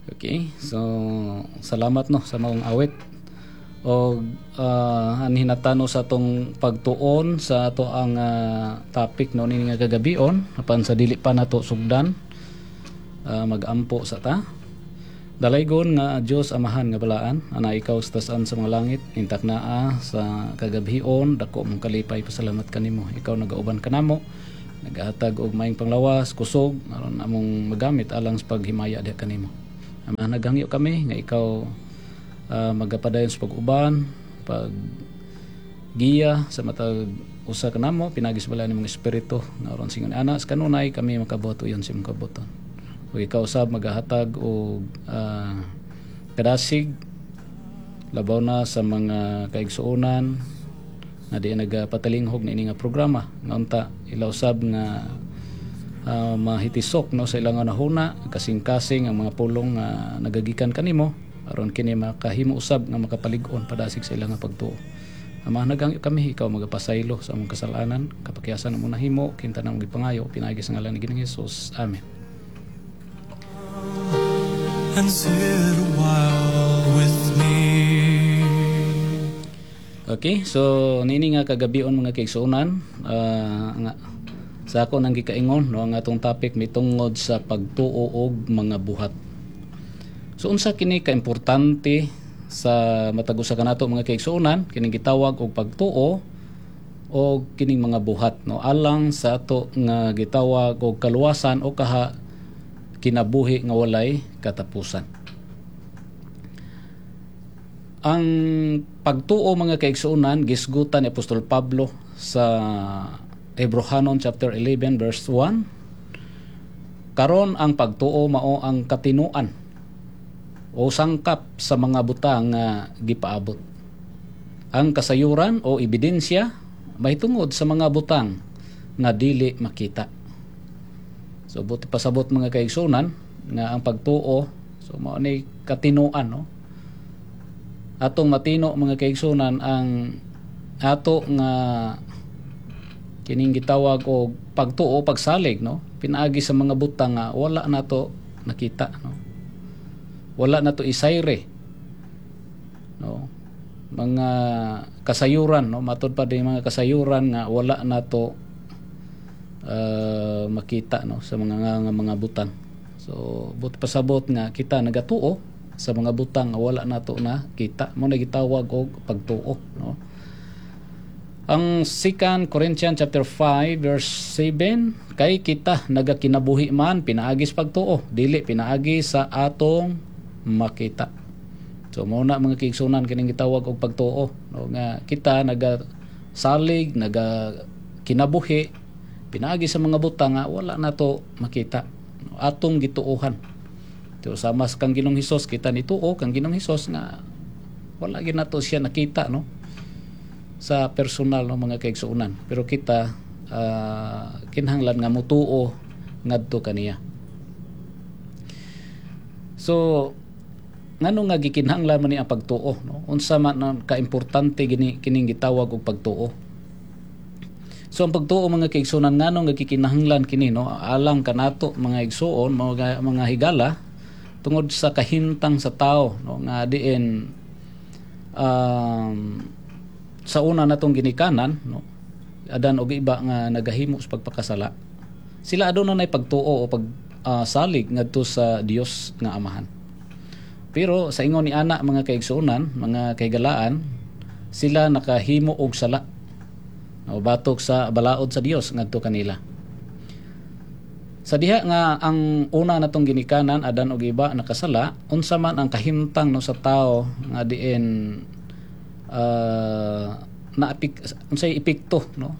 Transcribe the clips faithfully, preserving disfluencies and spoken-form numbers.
Okay, so salamat no sa maong awit. O uh, anhin natano sa atong pagtuon sa ato ang ah, topic no nini nga kagabion apan sa dili pa nato sugdan ah, magampo sa ta. Dalaygon nga Dios Amahan nga balaan ana ikaw sa taas sa mga langit intak naa sa kagabhion dako mong kalipay pasalamat kanimo ikaw nagauban kanamo nagahatag og maayong panglawas kusog aron among magamit alang sa paghimaya diha kanimo Ama naghangyo kami nga ikaw uh, magapadayon sa pag-uban pag giya sa matag usa kanamo pinagi sa balaan nimong espiritu nga aron singon ana sa kanunay kami makabuhat uyon sa imong kabubut-on ug ikaw usab magahatag og ah, kadasig labaw na sa mga kaigsuonan nga di nagapatalinghog niini nga programa nga unta ila usab nga ah, mahitisok no sa ilang hunahuna kasing-kasing ang mga pulong nga nagagikan kanimo aron kini makahimo usab nga makapalig-on padasig sa ilang nga pagtuo. Ama naghangyo kami ikaw magapasaylo sa among kasalanan kapakyasan among nahimo kinta namong gipangayo pinaagi sa ngalan ni Ginoong Hesus. Amen. and sit a while with me. Okay, so niini nga kagabion mga kaigsuonan, ah, nga sa ako nang gikaingon no ang atong topic mitungod sa pagtuo og mga buhat. So unsa kini kaimportante sa matag usa kanato mga kaigsuonan kining gitawag og pagtuo o kining mga buhat no alang sa ato nga gitawag og kaluwasan o kaha kinabuhi nga walay katapusan. Ang pagtuo mga kaigsuonan gisgutan ni Apostol Pablo sa Hebrohanon chapter eleven verse one. Karon ang pagtuo mao ang katinuan o sangkap sa mga butang nga gipaabot. Ang kasayuran o ebidensya mahitungod sa mga butang nga dili makita. So buot pasabot mga kaigsuonan nga ang pagtuo so mao ni katinuan no. Atong matino mga kaigsuonan ang ato nga kining gitawag og pagtuo pagsalig no pinaagi sa mga butang nga wala nato nakita no wala nato isayre no mga kasayuran no matud pa din mga kasayuran nga wala nato uh, makita no sa mga nga, mga butang so buot pasabot nga kita nagatuo sa mga butang nga wala nato na kita mao na gitawag og pagtuo no ang Second Corinthians chapter five verse seven kay kita nagakinabuhi man pinaagi sa pagtuo dili pinaagi sa atong makita so mao na mga kaigsuonan kining gitawag og pagtuo no nga kita nagasalig naga kinabuhi pinaagi sa mga butang nga wala nato makita no, atong gituohan so sama sa kang Ginoong Hesus kita nituo kang Ginoong Hesus nga wala gyud nato siya nakita no sa personal no mga kaigsuonan pero kita uh, kinahanglan nga mutuo ngadto kaniya so ngano nga gikinahanglan man ni ang pagtuo no unsa man ang kaimportante gini kining gitawag og pagtuo so ang pagtuo mga kaigsuonan ngano nga gikinahanglan kini no alang kanato mga igsuon mga mga higala tungod sa kahintang sa tao no nga diin um, sa una natong ginikanan no Adan og Eva nga nagahimo sa pagpakasala sila aduna nay pagtuo o pag ah, salig ngadto sa Dios nga Amahan pero sa ingon ni ana mga kaigsuonan mga kahigalaan sila nakahimo og sala o batok sa balaod sa Dios ngadto kanila sa diha nga ang una natong ginikanan Adan og Eva nakasala unsa man ang kahimtang no sa tao nga diin uh, naapik unsay epekto no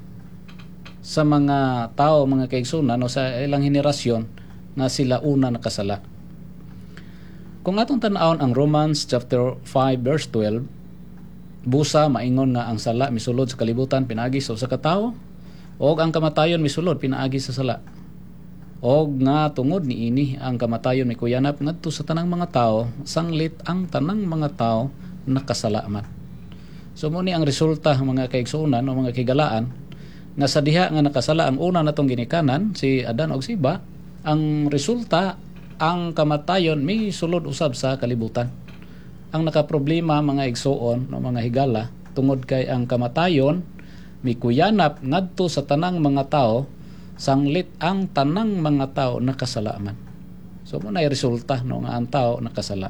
sa mga tao mga kaigsuonan no sa ilang henerasyon nga sila una nakasala kung atong tan-awon ang Romans chapter five verse twelve busa maingon nga ang sala misulod sa kalibutan pinaagi sa usa ka tawo og ang kamatayon misulod pinaagi sa sala og nga tungod niini ang kamatayon mikuyanap ngadto sa tanang mga tao sanglit ang tanang mga tao nakasala man so mao ni ang resulta mga kaigsuonan o mga kahigalaan nga sa diha nga nakasala ang una natong ginikanan si Adan og si Eva ang resulta ang kamatayon mi sulod usab sa kalibutan. Ang nakaproblema, mga igsuon, no, mga higala, tungod kay ang kamatayon mikuyanap ngadto sa tanang mga tao sanglit ang tanang mga tao nakasala man. So mao na resulta, no, nga ang tao nakasala.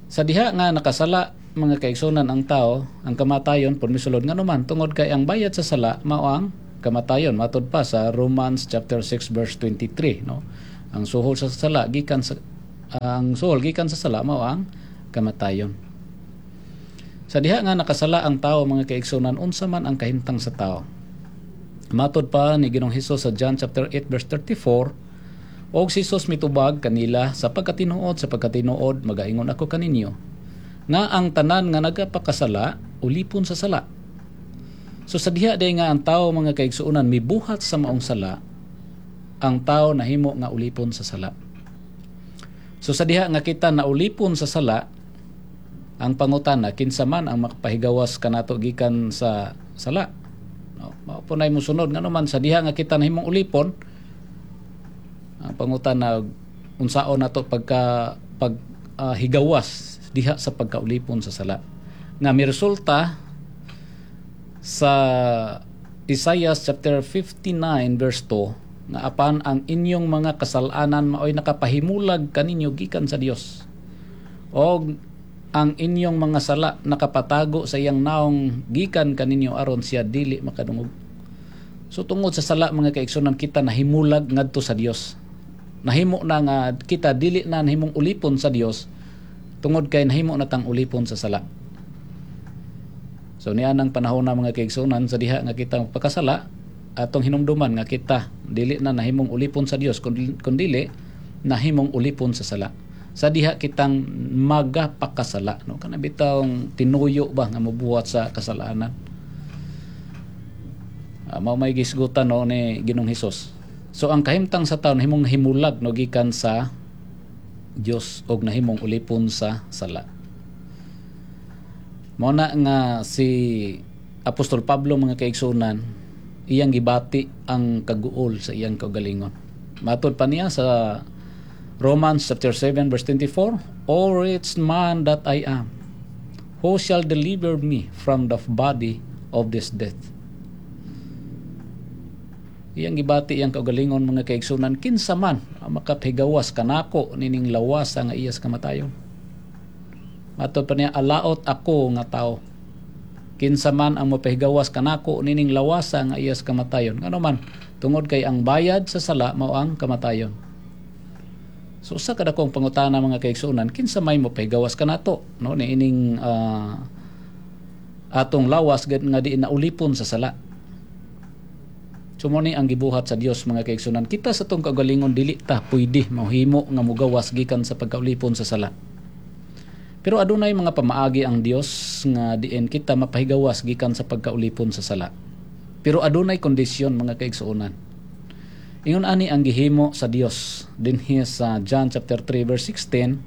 Sa diha nga nakasala, mga kaigsunan, ang tao, ang kamatayon pud misulod. Ngano man? Tungod kay ang bayad sa sala mao ang kamatayon, matud pa sa Romans chapter six verse twenty-three, no? Ang suhol sa sala gikan sa ang suhol gikan sa sala mao ang kamatayon. Sa diha nga nakasala ang tao, mga kaigsunan, unsa man ang kahimtang sa tao? Matod pa ni Ginoong Hesus sa John chapter eight verse thirty-four, "Og si Jesus mitubag kanila, 'Sa pagkatinuod, sa pagkatinuod, magaingon ako kaninyo nga ang tanan nga nagapakasala ulipon sa sala.'" So sa diha day nga ang tao, mga kaigsuonan, mibuhat sa maong sala, ang tao nahimo nga ulipon sa sala. So sa diha nga kita naulipon sa sala, ang pangutana, kinsa man ang makapahigawas kanato gikan sa sala? No, mao po nay mosunod. Ngano man, sa diha nga kita nahimong ulipon, ang pangutana, unsaon nato pagka pag ah, higawas diha sa pagkaulipon sa sala nga mi resulta sa Isaiah chapter fifty-nine verse two nga "Apan ang inyong mga kasalanan maoy nakapahimulag kaninyo gikan sa Dios og ang inyong mga sala nakapatago sa iyang naong gikan kaninyo aron siya dili makadungog." So tungod sa sala, mga kaigsunan, kita nahimulag ngadto sa Dios. Nahimo na nga kita dili na nahimong ulipon sa Dios tungod kay nahimo na tang ulipon sa sala. So niya nang panahon na, mga kaigsunan, sa diha nga kita pagkasala, atong hinumduman nga kita dili na nahimong ulipon sa Dios kundi, kundili nahimong ulipon sa sala. Sa diha kitang magapakasala, no, kana bitawng tinuyo ba nga mobuhat sa kasalanan. Uh, mao may gisgutan, no, ni Ginoong Hesus. So ang kahimtang sa tawo nahimong himulag, no, gikan sa Dios og nahimong ulipon sa sala. Mao na nga si Apostol Pablo, mga kaigsunan, iyang gibati ang kaguol sa iyang kaugalingon. Matod pa niya sa Romans chapter seven verse twenty-four, "O wretched man that I am, who shall deliver me from the body of this death?" Iyang gibati iyang kaugalingon, mga kaigsunan, "Kinsa man ang makapahigawas kanako nining lawas nga iyas kamatayon?" Matod pa niya, "Alaot ako nga tao. Kinsa man ang mapahigawas kanako nining lawasa nga iyas kamatayon?" Ngano man? Tungod kay ang bayad sa sala mao ang kamatayon. So usa ka dakong pangutana, mga kaigsuonan, kinsa may mopahigawas kanato, no, niining uh, atong lawas nga di naulipon sa sala? So mao ni ang gibuhat sa Dios, mga kaigsunan. Kita sa atong kaugalingon dili ta pwede mohimo nga mogawas gikan sa pagkaulipon sa sala. Pero adunay mga pamaagi ang Dios nga diin kita mapahigawas gikan sa pagkaulipon sa sala. Pero adunay kondisyon, mga kaigsuonan. Ingon ani ang gihimo sa Dios dinhi sa John chapter three verse sixteen,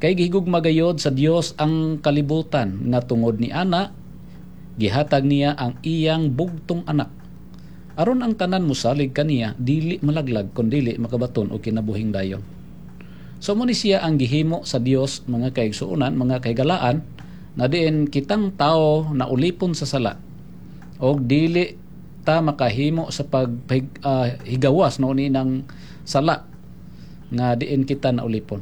"Kay gihigugma gayod sa Dios ang kalibutan nga tungod ni ana gihatag niya ang iyang bugtong anak aron ang tanan mosalig kaniya dili malaglag kundili makabaton og kinabuhing dayon." So mo ni siya ang gihimo sa Dios, mga kaigsuonan, mga kahigalaan, na diin kitang tao na ulipon sa sala og dili ta makahimo sa paghigawas uh, no ni ng sala nga diin kita na ulipon.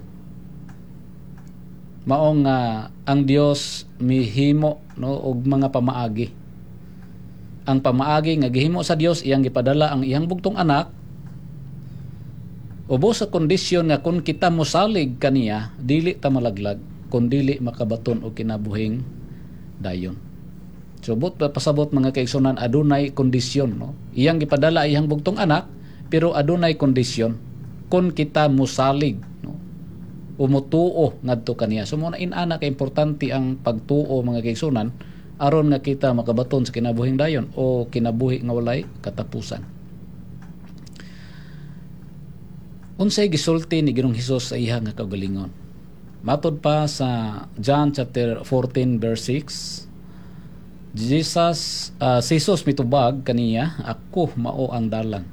Mao nga ang Dios mihimo, no, og mga pamaagi. Ang pamaagi nga gihimo sa Dios, iyang gipadala ang iyang bugtong anak ubos sa kondisyon nga kung kita mosalig kaniya dili ta malaglag kun dili makabaton og kinabuhing dayon. So but pasabot, mga kaigsunan, adunay kondisyon, no. Iyang gipadala iyang bugtong anak pero adunay kondisyon kung kita mosalig, no, umutuo ngadto kaniya. So mao na inana ka importante ang pagtuo, mga kaigsunan, aron nga kita makabaton sa kinabuhing dayon o kinabuhi nga walay katapusan. Unsay gisulti ni Ginoong Hesus sa iya nga kaugalingon? Matod pa sa John chapter fourteen verse six, Jesus uh, si Jesus mitubag kaniya, "Ako mao ang dalan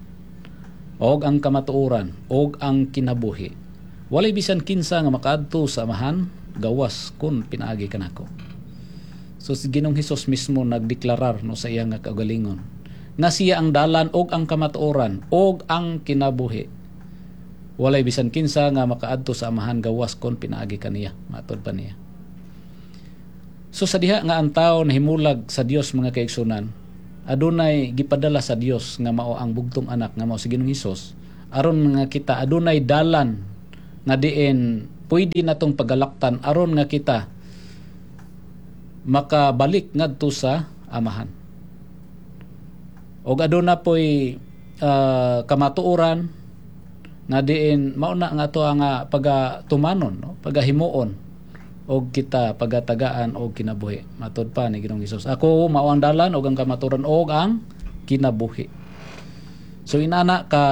og ang kamatuoran og ang kinabuhi. Walay bisan kinsa nga makaadto sa Amahan gawas kun pinaagi kanako. So si Ginoong Hesus mismo nagdeklarar, no, sa iya nga kaugalingon nga siya ang dalan og ang kamatuoran og ang kinabuhi. Walay bisan kinsa nga makaadto sa Amahan gawas kon pinaagi kaniya, matod pa niya. So sa diha nga ang tao nahimulag sa Dios, mga kaigsunan, adunay gipadala sa Dios nga mao ang bugtong anak nga mao si Ginoong Hesus, aron nga kita adunay dalan nga diin pwede natong pagalaktan aron nga kita makabalik ngadto sa Amahan. Og aduna poy uh, kamatuoran nga diin mao na nga ato ang pagatumanon, no, pagahimuon og kita pagatagaan og kinabuhi. Matod pa ni Ginoong Hesus, "Ako mao ang dalan og ang kamatuoran og ang kinabuhi." So inana ka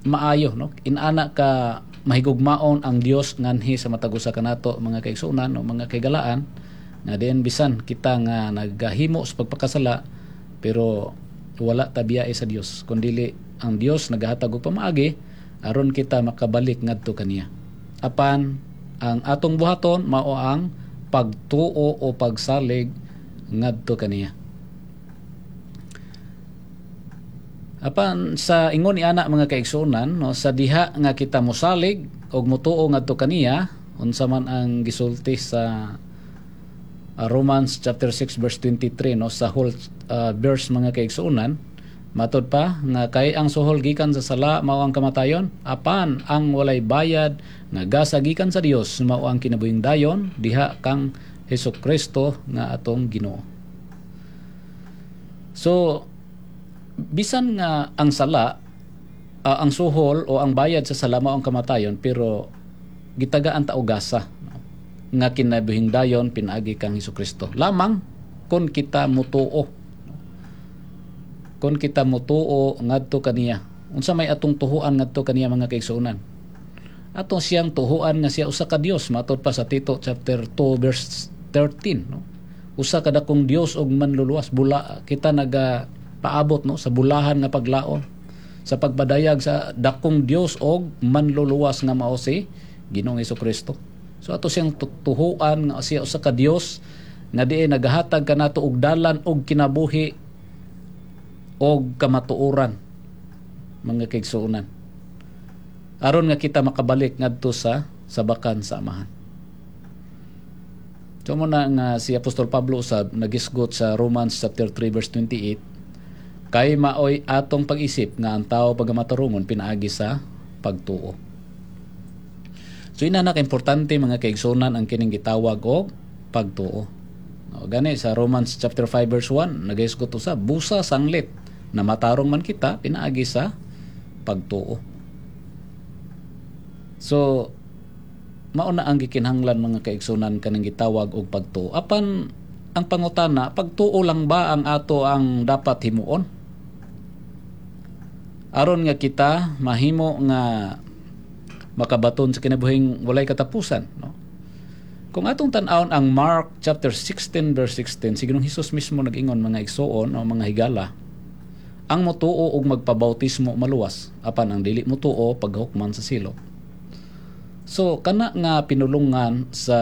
maayo, no, inana ka mahigugmaon ang Dios nganhi sa matag usa kanato, mga kaigsuonan o mga kaigalaan, nga diin bisan kita nga nagahimo sa pagpakasala, pero wala ta biyae sa Dios, kundili ang Dios nagahatag og pamaagi aron kita makabalik ngadto kaniya. Apan ang atong buhaton mao ang pagtuo o pagsalig ngadto kaniya. Apan sa ingon ni ana, mga kaigsuonan, no, sa diha nga kita mosalig og motuo ngadto kaniya, unsa man ang gisulti sa uh, Romans chapter six verse twenty-three, no, sa whole uh, verse, mga kaigsuonan, matod pa nga kay ang suhol gikan sa sala mao ang kamatayon, apan ang walay bayad nga gasa gikan sa Dios mao ang kinabuhing dayon diha kang Hesus Kristo nga atong Ginoo. So bisan nga ang sala, uh, ang suhol o ang bayad sa sala mao ang kamatayon, pero gitagaan ta og gasa, no, nga kinabuhing dayon pinaagi kang Hesus Kristo lamang kon kita mutuo kon kita mutuo ngadto kaniya. Unsa may atong tuhuan ngadto kaniya, mga kaigsuonan? Atong siyang tuhuan nga siya usa ka Dios, matod pa sa Tito chapter two verse thirteen, no, usa ka dakong Dios og manluluwas. Bula kita naga paabot, no, sa bulahan nga paglaom sa pagpadayag sa dakong Dios og manluluwas nga mao si Ginoong Kristo. So ato siyang tuhuan nga siya usa ka Dios nga diin nagahatag kanato og dalan og kinabuhi og kamatuoran, mga kaigsuonan, aron nga kita makabalik ngadto sa sabakan sa Amahan. So mo na nga si Apostol Pablo usab nagisgot sa Romans chapter three verse twenty-eight, kay maoy atong pag-isip nga ang tao pagamatarungon pinaagi sa pagtuo. So ina na ka-importante, mga kaigsunan, ang kining gitawag og pagtuo. No, gani sa Romans chapter five verse one nagisgot usab, busa sanglit na matarong man kita pinaagi sa pagtuo. So mao na ang gikinahanglan, mga kaigsunan, kaning gitawag og pagtuo. Apan ang pangutana, pagtuo lang ba ang ato ang dapat himuon aron nga kita mahimo nga makabaton sa kinabuhing walay katapusan, no? Kung atong tan-awon ang Mark chapter sixteen verse sixteen, si Ginoong Hesus mismo nag-ingon, mga igsuon o mga higala, ang motuo og magpabautismo maluwas, apan ang dili motuo paghukman sa silot. So kana nga pinulungan sa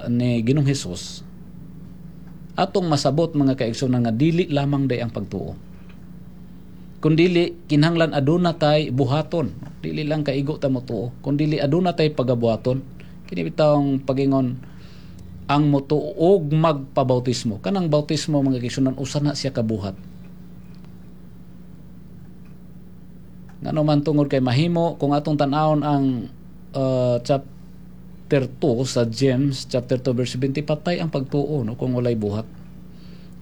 ni Ginoong Hesus, atong masabot, mga kaigsuonan, nga dili lamang day ang pagtuo, kundili kinahanglan aduna tay buhaton. Dili lang kaigo ta motuo, kundili aduna tay pagabuhaton. Kini bitawng pagingon ang motuo og magpabautismo, kanang bautismo, mga kaigsuonan, usa na siya kabuhat. Ngano man? Tungod kay mahimo kung atong tan-awon ang uh, chapter two sa James chapter two verse seventy, patay ang pagtuo, no, kung walay buhat.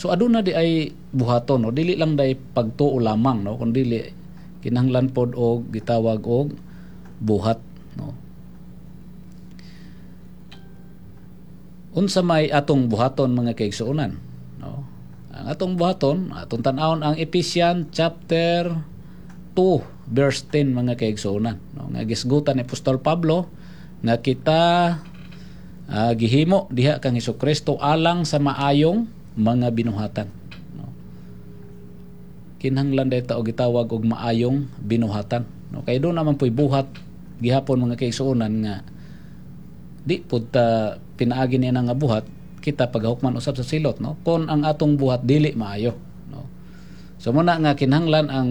So aduna di ay buhaton, no, dili lang day pagtuo lamang, no, kun dili kinahanglan pod og gitawag og buhat, no. Unsa may atong buhaton, mga kaigsuonan, no? Ang atong buhaton, atong tan-awon ang Ephesians chapter two verse ten, mga kaigsuonan, no, nga gisgutan ni Apostol Pablo nga kita uh, gihimo diha kang Hesukristo alang sa maayong mga binuhatan, no? Kinahanglan dayta og gitawag og maayong binuhatan. No, kay duna man po'y buhat gihapon, mga kaigsuonan, nga di pud ta pinaagi niya nga buhat kita paghukman usab sa silot, no, kon ang atong buhat dili maayo, no. So muna nga kinahanglan ang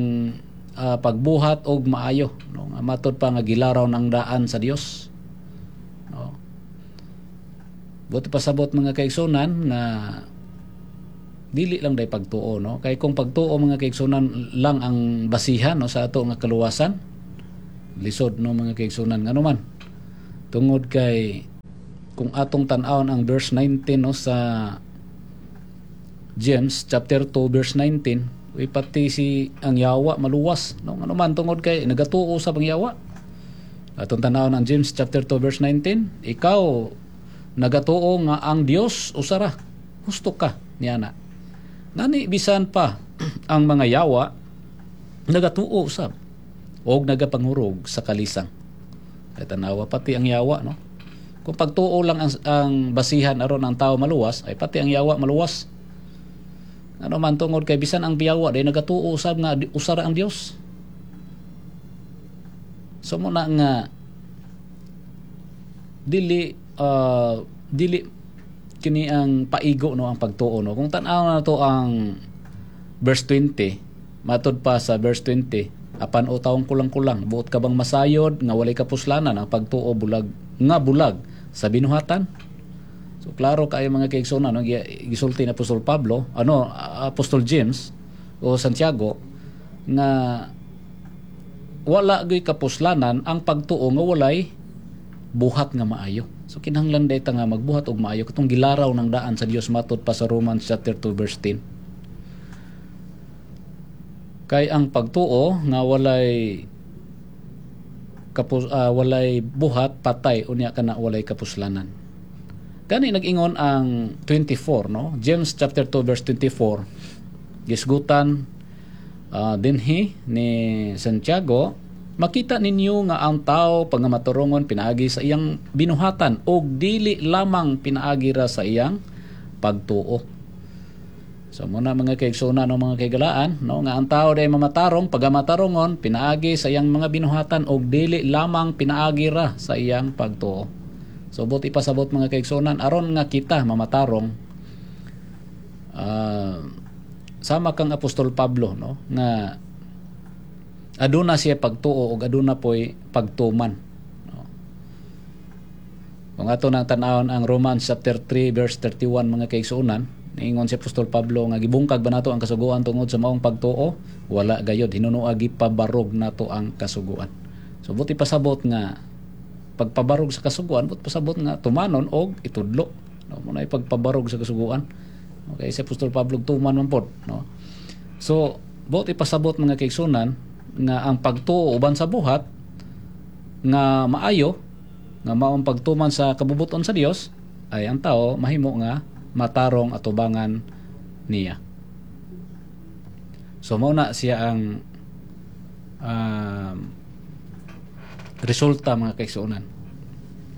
ah, pagbuhat og maayo, no, nga matud pa nga gilaraw ng daan sa Dios, no. Buot pasabot, mga kaigsunan, nga dili lang day pagtuo, no, kay kung pagtuo, mga kaigsunan, lang ang basihan, no, sa ato nga kaluwasan, lisod, no, mga kaigsunan. Ngano man? Tungod kay kung atong tan-awon ang verse nineteen, no, sa James chapter two verse nineteen, uy, pati si ang yawa maluwas, no. Ngano man? Tungod kay nagatuo sa ang yawa. Atong tan-awon ang James chapter two verse nineteen: "Ikaw nagatuo nga ang Dios usara, husto ka niana. Nani bisan pa ang mga yawa nagatuo usab og nagapanghurog sa kalisang." Kay tanawa, pati ang yawa, no. Kung pagtuo lang ang, ang basihan aron ang tao maluwas, ay pati ang yawa maluwas. Ano man? Tungod kay bisan ang biyawa day nagatuo usab nga usara ang Dios. So mo na nga dili uh, dili kini ang paigo, no, ang pagtuo, no. Kung tan-aw na to ang verse twenty, matod pa sa verse twenty, "Apan o tawong kulang-kulang, buot ka bang masayod nga walay kapuslanan ang pagtuo bulag nga bulag sa binuhatan?" So klaro kayo, mga kaigsuonan, no, gisulti ni Apostol Pablo, ano, Apostol James o Santiago, nga wala gyud kapuslanan ang pagtuo nga walay buhat nga maayo. So kinahanglan dayta nga magbuhat og maayo katong gilaraw ng daan sa Dios matod pa sa Romans chapter two verse ten. Kay ang pagtuo nga walay kapus uh, walay buhat, patay unya kana, walay kapuslanan. Gani nag-ingon ang twenty-four, no? James chapter two verse twenty-four, gisgutan uh, dinhi ni Santiago, "Makita ninyo nga ang tao pangamaturongon pinaagi sa iyang binuhatan og dili lamang pinaagi ra sa iyang pagtuo." So muna, mga kaigsuonan, no, mga kaigalaan, no, nga ang tao day mamatarong pagamatarongon pinaagi sa iyang mga binuhatan og dili lamang pinaagi ra sa iyang pagtuo. So buot ipasabot, mga kaigsuonan, aron nga kita mamatarong, uh, sama kang Apostol Pablo, no, nga aduna siya pagtuo ug aduna poy pagtuman, no. Kung ato nang tan-awon ang Romans chapter three verse thirty-one, mga kaigsuonan, niingon si Apostol Pablo nga gibungkag ba nato ang kasuguan tungod sa maong pagtuo? Wala gayod, hinunoa gipabarog nato ang kasuguan. So buot pasabot nga pagpabarog sa kasuguan, buot pasabot nga tumanon og itudlo, no, mo na pagpabarog sa kasuguan. Okay, si Apostol Pablo tuman man pod, no. So buot ipasabot, mga kaigsuonan, nga ang pagtuo uban sa buhat nga maayo, nga maong pagtuman sa kabubuton sa Dios, ay ang tao mahimo nga matarong atubangan niya. So mao na siya ang um, resulta, mga kaigsuonan.